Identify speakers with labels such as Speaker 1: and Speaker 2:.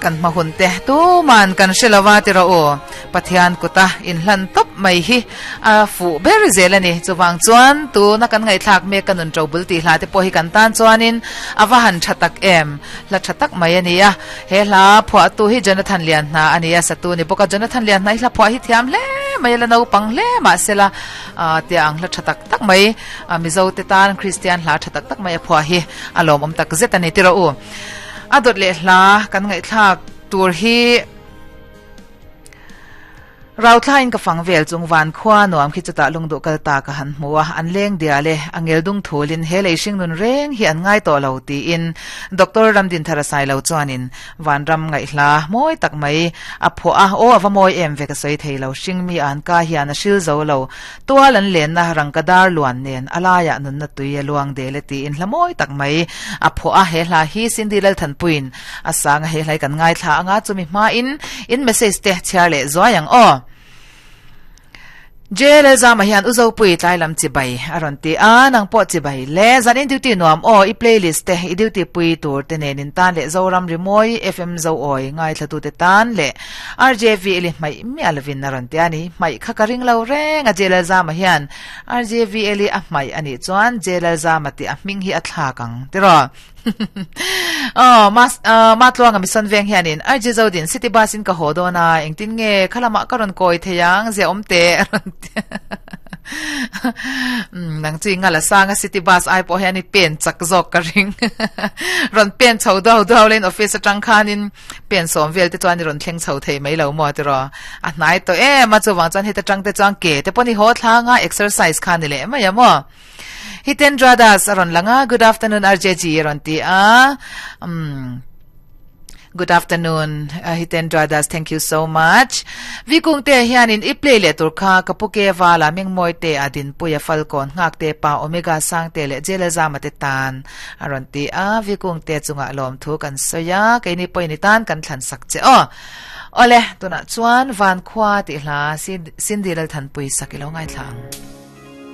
Speaker 1: Kan hma hun te tuman kan hre lova ti rawh u. Pathian kuta inhlan tawp mai hi a fuh ber zel a ni. Chuvang chuan tuna kan ngaihthlak mek ka nun ṭo bul tih hla te pawh hi kan tan chuanin a va han ṭha tak em. Hla ṭha tak mai a ni a. He hla phuahtu hi Jonathan Lianhna a ni a, satu ni bawk a. Jonathan Lianhna hi hla phuah hi thiam hle mai a, la naupang hle mahsela tia ang hla ṭha tak tak mai Mizo te tan Kristian hla ṭha tak tak mai a phuah hi a lawmawm tak zet a ni ti rawh u. A dawt leh hla kan ngaihthlak tur hi Rauthlain ka fang vel chung van khua nuam khi chutah lungduh kal ta ka han hmu a, an leng dial e, a ngel dung thulin he lei hring nun reng hi an ngai tawh lo tiin Doctor Ramdinthara Sailo chuanin vanram ngaihhla mawi tak mai a phuah a, aw a va mawi em ve ka sawi thei lo, hring mi an ka hian a hril zo lo, tual an lenna rangka dar luan nen a laiah nunna tui a luang del e tiin hla mawi tak mai a phuah a, he hla hi Cindy Lalthanpuiin A sang a hei hlai kan ngaithla anga chumi hmain in message te chhiar leh zuai ang aw. JLL Zama hian u Zopui tlai lam chibai a rawn ti a, nang pawh chibai le. Zan in duty nuam aw, i playlist te, i duty pui tur te nen in tan leh Zoram Rimawi FM Zoawi ngaithla tu te tan leh RJV Eli hmaih miah lovin a rawn ti a ni. Hmaih kha ka ring lo reng a JLL Zama hian RJV Eli a hmaih a nih chuan JLL Zama tih a hming hi a thlak ang tiraw. Aw, mas, uh, Matluanga mison veng hianin RJ Zodin city bus in ka haw dawn a, engtin nge khalamah ka rawn kawi thei ang, zia awm teh a rawn ti. Um, nang chu i ngala sang a city bus ai pawh hian i pen chak zawk ka ring. Rawn pen chho duau duau lein office atang khanin pen sawm vel te chuan i rawn thleng chho thei mai lo maw tiraw. A hnai tawh em a, chuvang chuan heta tang te chuan ke te pawh ni haw thlang a, exercise kha ni leh mai a maw. Hitendra Das a rawn lang a, Good afternoon RJG a rawn ti a. Um, Good afternoon, uh, Hitendra Das. Thank you so much. Vikung te hianin i play leh tur kha kapuke vala mingmawi te a dinpuia falkawn nghak te pa omega sang te leh jela zama te tan a rawn ti a vikung te chunga lawm thu kan sawi a keini pawhin i tan kan thlan sak che aw ole tunah chuan van khua tih hla Cindy Lalthanpui sak i lo ngaithla ang.